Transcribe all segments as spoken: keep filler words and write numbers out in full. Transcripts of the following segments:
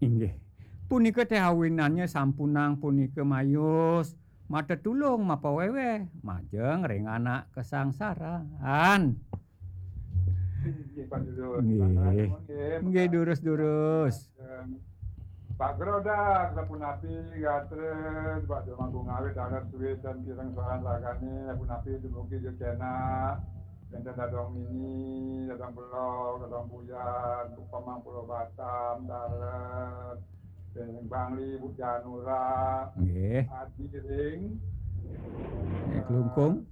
Inggih. Punika teh awinannya sampunang punika mayus matetulung mapaweweh majeng ring anak kasangsaran. Inggih, Pak Jero. Nggih. Nuwun, nggih. Nggih, durus-durus. Pak Grodak, sapunapi gatra, Pak Jero Mangku Ngawit, dados suwé dan kirang suaran ragane, sapunapi dumugi Jejena, wénten Dadong Mini, Dadong Belog, Dadong Buyan, Pamang Pulau Batam, Dalet, Bangli, Bu Janura, nggih. Adi Ring, eh, Klungkung.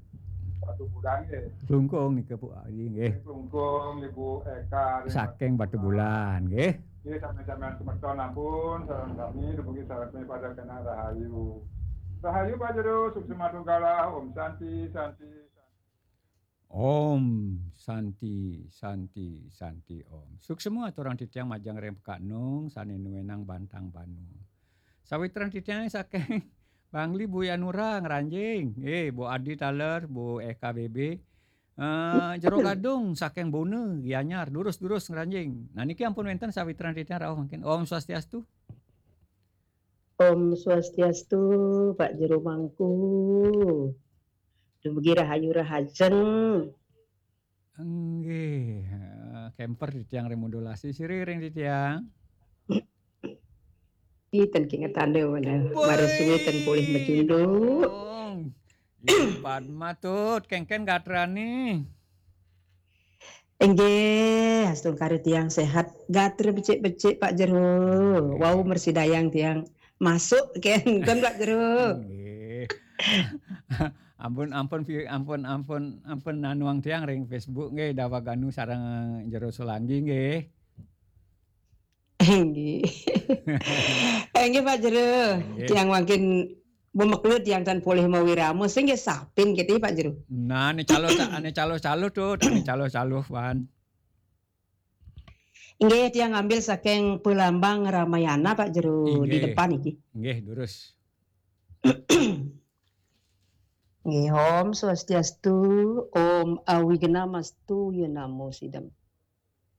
Batu Bulan, nggih. Klungkung nika, Bu Adi, nggih. Klungkung, Ibu Eka, ring saking Batu Bulan, nggih. Nggih, sami-sami semeton ampun, sareng sami dumugi sareng sami pada kena rahayu. Rahayu, Pak Jero, suksma tunggala, Om Santi, Santi, Santi. Om Santi, Santi, Santi Om. Suksma aturang titiang majeng ring Pekak Nung sane nuenang Bantang Banu. Sawitran titiang saking Bangli, Bu Yanura ngranjing. Eh, Bu Adi taler, Bu Eka B B. Eh, Jero Gadung saking Bone, Gianyar, durus-durus ngranjing. Nah, niki ampun wénten sawitran titiang rauh mangkin. Om Swastiastu. Om Swastiastu, Pak Jero Mangku. Dumugi rahayu rahajeng. Inggih, eh, kemper titiang ring modulasi, sira ring titiang. Ih, ten kingetane mana. Woi. Mara suwe ten polih macunduk. Ih, Padma Tut, kengken gatrane. Inggih, astungkara tiang sehat. Gatra becik-becik, Pak Jero. Nggih. Wau mresidayang tiang masuk kenten, Pak Jero. Nggih. Ampun, ampun, pi-, ampun, ampun, ampun nanuang tiang ring Facebook nggih, Dawaganu sareng Jero Sulanggi nggih. Inggih. Inggih, Pak Jero. Inggih. Tiang mangkin bemeklu tiang tan polih mawirama. Sing nggih sapin kita, Pak Jero. Nah, ane calo, ane calo-calo tuh, ane calo-calo, Wan. Inggih, tiang ngambil saking pelambang Ramayana, Pak Jero, di inggih. Depan iki. Inggih, durus. Nggih, Om Swastiastu, Om Awignamastu, ya namo sidam.